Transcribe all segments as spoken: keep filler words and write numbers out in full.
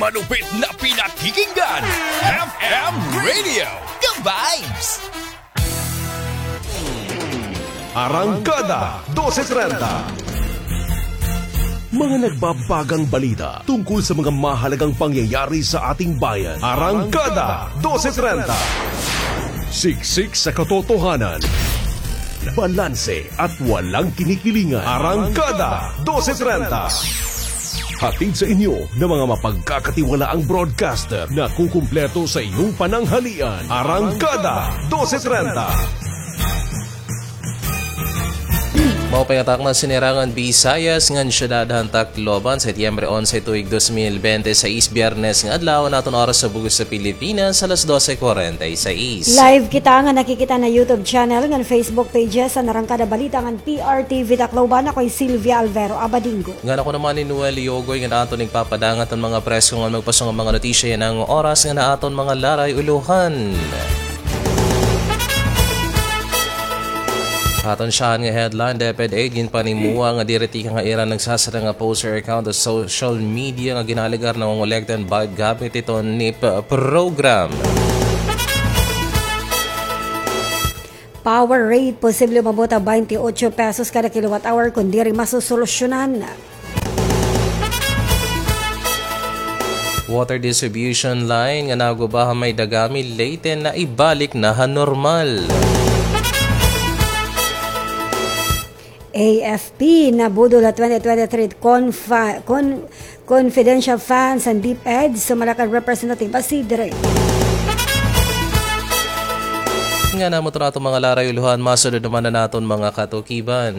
Malupit na pinakikinggan, F M Radio, The Vibes. Arangkada, dose trenta. Mga nagbabagang balita tungkol sa mga mahalagang pangyayari sa ating bayan. Arangkada, dose trenta. Siksik sa katotohanan. Balanse at walang kinikilingan. Arangkada, dose trenta. Hatid sa inyo ng mga mapagkakatiwalaang broadcaster na kukumpleto sa inyong pananghalian. Arangkada, dose trenta. Maupay nga takna, Sinerangan Visayas, ngan syudad han Tacloban, Setyembre onse, tuig dos mil bente seis, Biyernes nga adlaw, an aton oras sa bug-os sa Pilipinas, alas dose kwarenta y seis. Live kita nga nakikita na YouTube channel ngan Facebook pages an Arangkada Balita ngan P R T V Tacloban. Ako hi Sylvia Alvero Abadingo. Ngan ako naman hi Noel Yogoy, ngan aton igpapadangat an mga presko ngan magpaso nga mga notisya yana nga oras ngan ha aton mga laray-ulohan. Aton syahan nga headline, DepEd eight ginpanimuwa nga diri tikang ha ira nagsasara nga poster account ha social media nga ginaalegar nangongolekta hin bayad gamit hiton NEEP program. Power rate posible umabot ha baynte otso pesos kada kilowatt hour kon diri masosolusyonan. Water distribution line nga naguba ha may Dagami, Leyte, naibalik na ha normal. A F P, nabudol ha twenty twenty-three confa-, con-, confidential funds han DepEd, sumala kan Representative Acidre. Ngan amo ito na aton mga laray-ulohan, masunod naman an aton mga katukiban.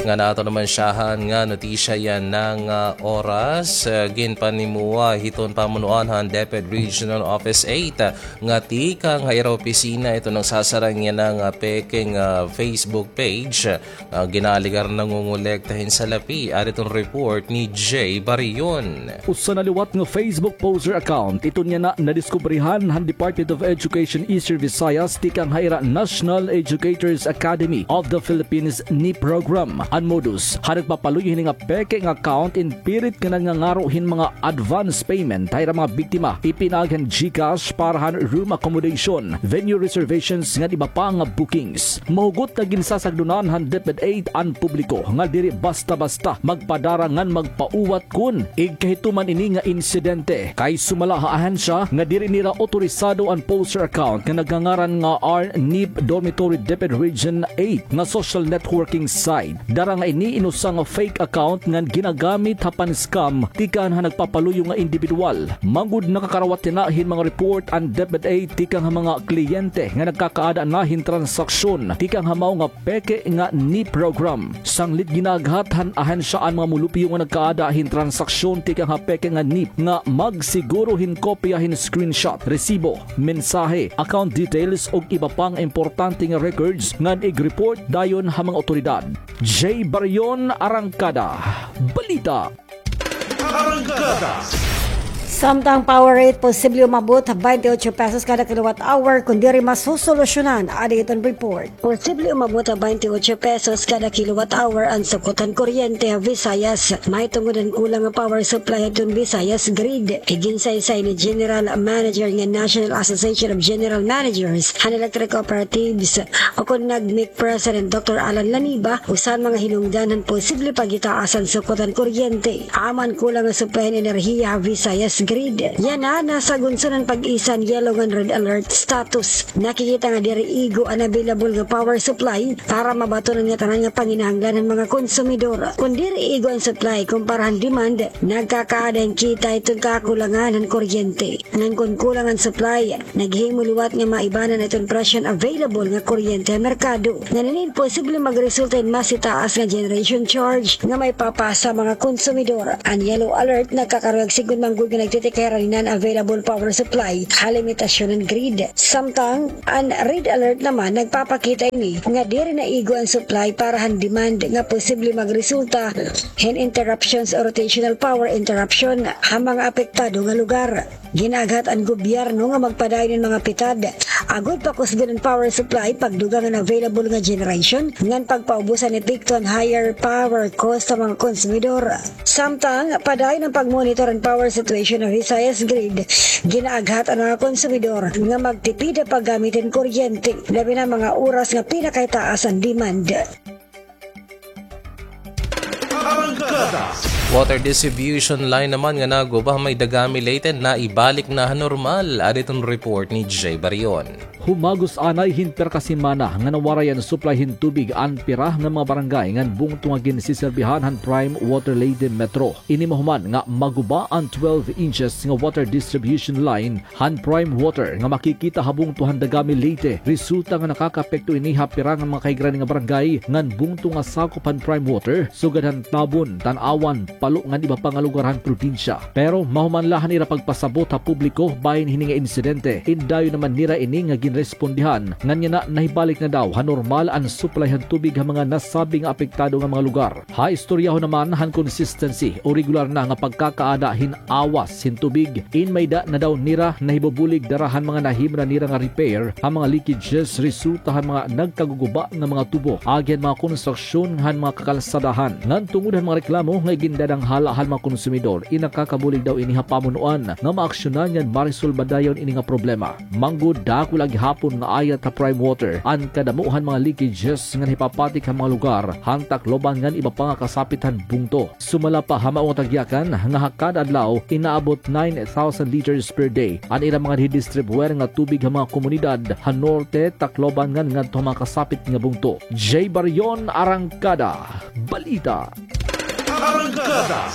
Ngan aton naman syahan nga notisya yana nga oras, ah, ginpanimuwa hiton pamunuan han DepEd Regional Office eight, ah, nga tikang ha ira opisina iton nagsasara yana nga peke nga Facebook page, ah, nga ginaalegar nangongolekta hin salapi. Adi iton report ni Jay Barion. Usa na liwat nga Facebook poster account iton yana nadiskubrihan han Department of Education Eastern Visayas tikang ha ira National Educators Academy of the Philippines NEEP program. An modus, ha nagpapaluyo hini nga peke nga account in pirit nga nangangaro hin mga advance payment ha ira mga biktima, ipinaagi han GCash para han room accommodation, venue reservations ngan iba pa nga bookings. Mahugot nga ginsasagdonan han DepEd eight an publiko nga diri basta-basta magpadara ngan magpauwat kon igkahituman ini nga insidente, kay sumala ha ahensya nga diri nira otorisado an poster account nga nagngangaran nga R NEEP Dormitory DepEd Region eight nga social networking site. Dara nga ini in usa nga fake account ngan ginagamit ha pan-scam tikang ha nagpapaluyo nga indibidwal. Manggod nakakarawat yana hin mga report an DepEd eight tikang ha mga kliyente nga nagkakaada na hin transaksyon tikang ha mao nga peke nga NEEP program. Sanglit ginaaghat han ahensya an mga mulupyo nga nagkaada hin transaksyon tikang ha peke nga NEEP nga magsiguro hin kopya hin screenshot, resibo, mensahe, account details ug iba pa nga importante nga records ngan ig-report dayon ha mga awtoridad. Jay Barion, Arangkada Balita. Arangkada. Samtang power rate posible umabot ha baynte otso pesos kada kilowatt hour kon diri masosolusyonan, adi iton report. Posible umabot ha baynte otso pesos kada kilowatt hour an sukot han kuryente ha Visayas, mahitungod han kulang nga power supply hadton Visayas Grid. Iginsaysay ni General Manager ngan National Association of General Managers han Electric Cooperatives, ukon NAGMEC President Doctor Alan Laniba, usa han mga hinungdan han posible paghitaas han sukot han kuryente. Amo an kulang nga supply han enerhiya ha Visayas Grid. Yana, nasa gunson han pag-isa han yellow ngan red alert status. Nakikita nga diri igo an available nga power supply para mabaton an ngatanan nga panginahanglan han mga konsumidor. Kon diri igo an supply kumpara han demand, nagkakaada hin kita hiton kakulangan han kuryente. Ngan kon kulang an supply, naghimo liwat nga maibanan iton presyo han available nga kuryente ha merkado. Ngan ini posible magresulta hin mas itaas nga generation charge nga maipapasa ha mga konsumidor. An yellow alert nagkakaruyag sigon manggod nga nagtitikera hin non-available power supply ha limitasyon han grid. Samtang an red alert naman nagpapakita ini nga diri na igo an supply para han demand nga posible magresulta hin interruptions o rotational power interruption ha mga apektado nga lugar. Gin-aaghat an gobyerno nga magpadayon hin mga pitad agod pakusgon an power supply, pagdugang an available nga generation ngan pagpaubos han epekto han higher power cost sa mga konsumidor. Samtang padayon an pagmonitor han power situation han Visayas Grid, gin-aaghat an mga konsumidor nga magtipid ha paggamit hin kuryente, labi na mga oras nga pinakahitaas an demand. Arangkada. Water distribution line naman nga naguba ha may Dagami, Leyte, naibalik na ha normal. Adi iton report ni Jay Barion. Humagos anay hin pira ka semana nga nawaray an supply hin tubig an pira nga mga barangay ngan bungto nga ginsiserbihan han Prime Water Leyte Metro. Ini mahuman nga maguba an twelve inches nga water distribution line han Prime Water nga makikita ha bungto han Dagami, Leyte, resulta nga nakakaapekto ini ha pira nga mga kahigaran nga barangay ngan bungto nga sakop han Prime Water, sugad han Tabon, Tanauan, Palo ngan iba pa nga lugar han probinsya. Pero mahuman la han ira pagpasabot ha publiko bahin hini nga insidente, in dayon naman nira ini nga ginrespondihan, ngan yana nahibalik na daw ha normal an supply han tubig ha mga nasabi nga apektado nga mga lugar. Ha istoryahon naman han consistency o regular na nga pagkakaada hin awas hin tubig, in mayda na daw nira nahibubulig dara han mga nahimo na nira nga repair ha mga leakages resulta han mga nagkaguguba nga mga tubo agi han mga konstruksyon han mga kakalsadahan. Ngan tungod han mga reklamo nga igindadanghala han mga konsumidor, in nakakabulig daw ini ha pamunuan nga maaksyonan ngan maresolba dayon ini nga problema. Manggod, dako la gihapon nga ayat ha Prime Water an kadamo han mga leakages nga nahipapatik ha mga lugar han Tacloban ngan iba pa nga kasapit han bungto. Sumala pa ha mao nga tagyakan nga ha kada adlaw inaabot nine thousand liters per day an ira mga didistribuer nga tubig ha mga komunidad ha Norte, Tacloban ngan ngadto ha mga kasapit nga bungto. Jay Barion, Arangkada Balita. Arangkada.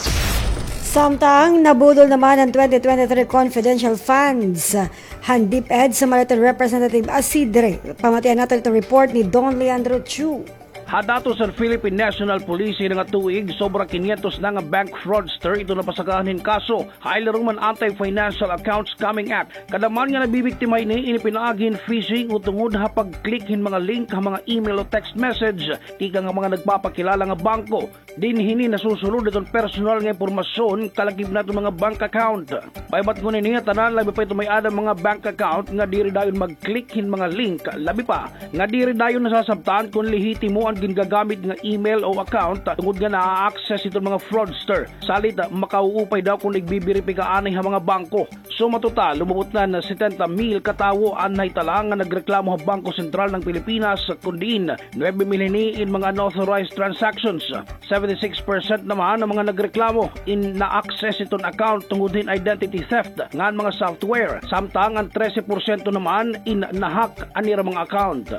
Samtang nabudol naman an twenty twenty-three confidential funds han DepEd, sumala iton Representative Acidre. Pamatian naton iton report ni Don Leandro Chu. Ha datos han Philippine National Police, hini nga tuig, sobra kinyentos na nga bank fraudster iton napasakaan hin kaso ha ilirom han Anti-Financial Accounts Scamming Act. Kada man nga nabibiktima hini, ini pinaagi hin phishing o tungod ha pag-click hin mga link ha mga email o text message tikang ha mga nagpapakilala nga bangko. Dinhi hini nasusulod iton personal nga impormasyon kalakip na iton mga bank account. Paibat ngunini, tanan, labi pa iton may-ada han mga bank account, nga diri dayon mag-click hin mga link, labi pa nga diri dayon nasasabtan kon lehitimo an gingagamit nga email o account tungod nga naa-access iton mga fraudster. Salit, makauupay daw kon igbibiripika anay ha mga bangko. Suma total, umabot na han setenta mil ka tawo an nahitala nga nagreklamo ha Bangko Sentral ng Pilipinas, kon diin nuebe mil hini in mga unauthorized transactions. Seventy-six percent naman an mga nagreklamo in na-access iton account tungod hin identity theft ngan mga software, samtang an trese porsyento naman in na-hack an ira mga account.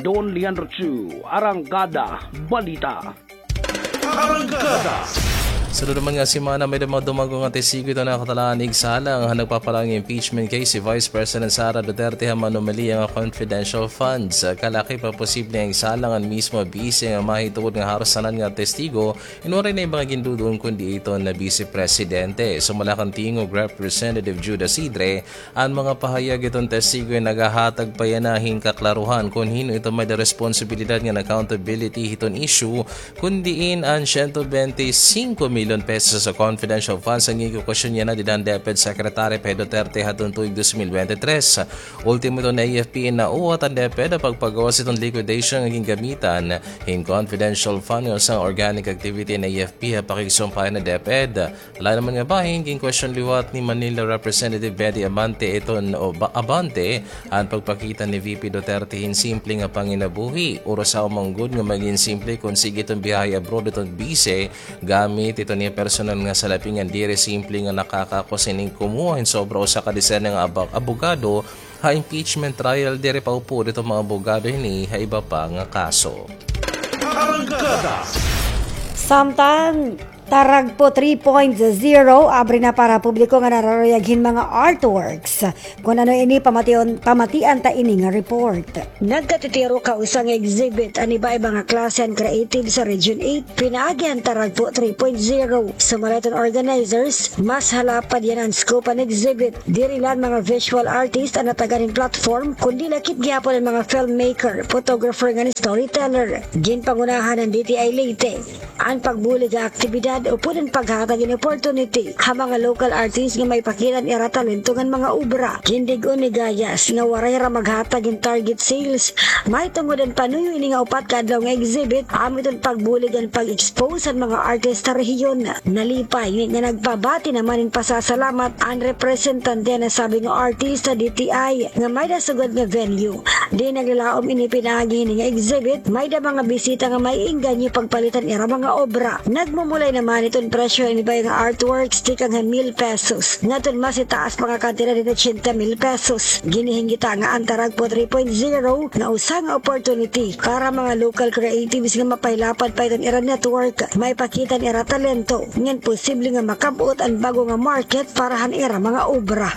Don Leandro Chu, Arangkada Balita. Arangkada. Sunod naman nga semana, may-ada mga dumago nga testigo iton nakatalaan igsalang han nagpapalaong impeachment case hi Vice President Sara Duterte ha manumalia nga confidential funds. Kalakip ha posible nga igsalang an mismo bise nga mahitungod nga haros tanan nga testigo in waray na iba nga ginduduon kundi iton Vice Presidente. Sumala kan Tingog Representative Jude Acidre, an mga pahayag hiton testigo in nagahatag pa yana hin kaklaruhan kon hin-o iton may-ada responsibilidad ngan accountability hiton issue, kon diin an siyento bente singko milyon pesos nga confidential funds an ginkukwestiyon yana dida han DepEd Secretary Pay Duterte hadton tuig dos mil bente tres. Ultimo iton A F P in nauwat han DepEd ha pagpagawas hiton liquidation nga gingamitan hin confidential fund nga usa nga organic activity han A F P ha pakigsumpay han DepEd. Lain naman nga bahin, ginkwestiyon liwat ni Manila Representative Betty Abante iton, o Ba-, Abante, an pagpakita ni V P Duterte hin simple nga panginabuhi. Urusaw man gud nga magin simple kon sige iton biyahe abroad iton bise, gamit iton iya personal nga salapi ngan diri simple nga nakakako sining kumuha hin sobra usa ka desena nga aba-, abogado ha impeachment trial, diri pa upod iton mga abogado hini ha iba pa nga kaso. Arangkada. Samtang Taragpo three point zero, abri na para publiko nga nararuyag hin mga artworks. Kon ano ini, pamation, pamatian ta ini nga report. Nagkatitiro ka usa nga exhibit an iba-iba nga klase han creative sa Region eight, pinaagi han Taragpo three point zero. Sumala hiton organizers, mas halapad yana an scope han exhibit. Diri la an mga visual artist an natagan hin platform, kundi lakip gihapon an mga filmmaker, photographer ngan storyteller. Ginpangunahan han D T I Leyte an pagbulig ha aktibidad upod an paghatag hin opportunity ha mga local artists nga maipakita an ira talento ngan mga obra. Gindig-on ni Gayas nga waray hira maghatag hin target sales mahitungod an panuyo ini nga upat ka adlaw nga exhibit, amo iton pagbulig an pag-expose han mga artist ha rehiyon. Nalipay nga nagpabati naman hin pasasalamat an representante han nasabi nga artista D T I nga may-ada sugad nga venue. Di naglalaom ini pinaagi hini nga exhibit, may-ada mga bisita nga may engganyo pagpalit han ira mga obra. Nagmumulay naman iton presyo hini baga nga artworks tikang ha mil pesos ngadton mas itaas pa nga kantidad hin ochenta mil pesos. Ginihinggita nga an Taragpo three point zero nga usa nga opportunity para mga local creatives nga mapahilapad pa iton ira network, maipakita an ira talento, ngan posible nga makab-ot an bag-o nga market para han ira mga obra.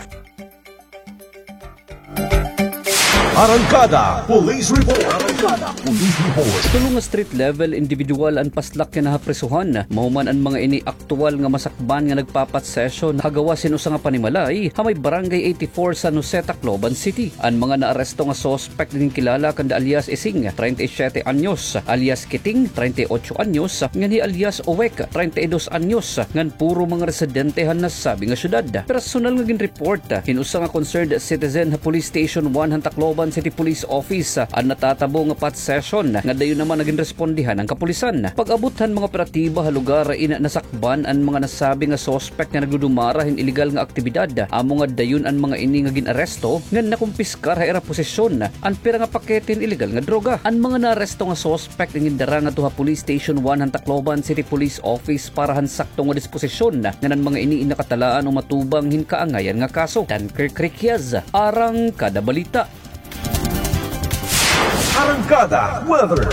Arangkada Police Report. Arangkada Police Report. Tulo nga street level individual an paslak yana ha prisohan. Mahuman an mga ini aktuwal nga masakban nga nagpa-pot session ha gawas hin usa nga panimalay ha may Barangay eighty-four, San Jose, Tacloban City. An mga naaresto nga suspect ginkilala kanda alias Ising, treinta y siete anyos, alias Kiting, treinta y ocho anyos, ngan hi alias Owek, treinta y dos anyos, ngan puro mga residente han nasabi nga syudad. Personal nga ginreport hin usa nga concerned citizen ha Police Station one han Tacloban City Police Office an natatabo nga pot session nga dayon naman nga ginrespondihan han kapulisan. Pag-abot han mga operatiba ha lugar, ina nasakban an mga nasabi nga suspect nga nagdudumara hin iligal nga aktibidad, amo nga dayon an mga ini nga gin-aresto ngan nakumpiskar ha ira posesyon an pira nga pakete hin iligal nga droga. An mga naaresto nga suspect an gindara ngadto ha Police Station one han Tacloban City Police Office para han sakto nga disposisyon, ngan an mga ini nakatalaan o matubang hin kaangayan nga kaso. Dunkirk Riquiaz, Arangkada Balita. Arangkada Weather.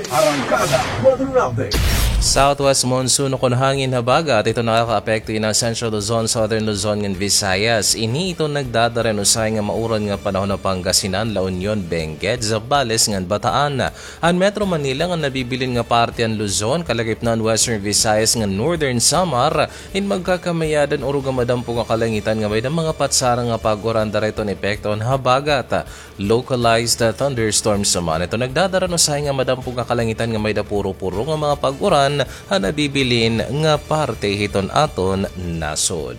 Arangkada Weather Update. Southwest monsoon o kon hangin habagat, ito nakakaapekto ini ha Central Luzon, Southern Luzon, ngan Visayas. Ini ito nagdadara hin usahay nga mauran nga panahon ha Pangasinan, La Union, Benguet, Zambales, ngan Bataan. An Metro Manila ngan nabibilin nga parte han Luzon, kalagip na an Western Visayas ngan Northern Samar, in magkakamayadan o ruga madampo nga kalangitan nga may-ada mga patsarang nga pag-uran, dara ito an epekto han habagat. Localized thunderstorms naman ito nagdadara hin usahay nga madampo nga kalangitan nga may-ada puro-puro nga mga pag-uran han nabibilin nga parte hiton aton nasod.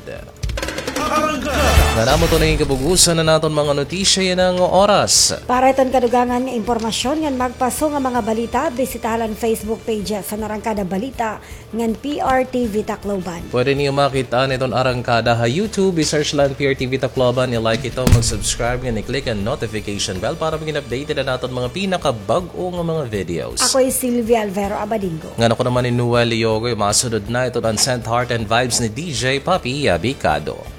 Ngan amo ito na it kabug-osan han aton mga notisya yana nga oras. Para hiton kadugangan nga impormasyon ngan magpaso nga mga balita, bisitaha la an Facebook pages han Arangkada Balita ngan P R T V Tacloban. Pwede niyo makit-an iton Arangkada ha YouTube, i-search la an P R T V Tacloban, i-like ito, mag-subscribe, ngan i-click an notification bell para magin updated an aton mga pinakabag-o nga mga videos. Ako hi Sylvia Alvero Abadingo. Ngan ako naman hi Noel Yogoy, masunod na iton an Scent, Heart and Vibes ni D J Papi Abicado.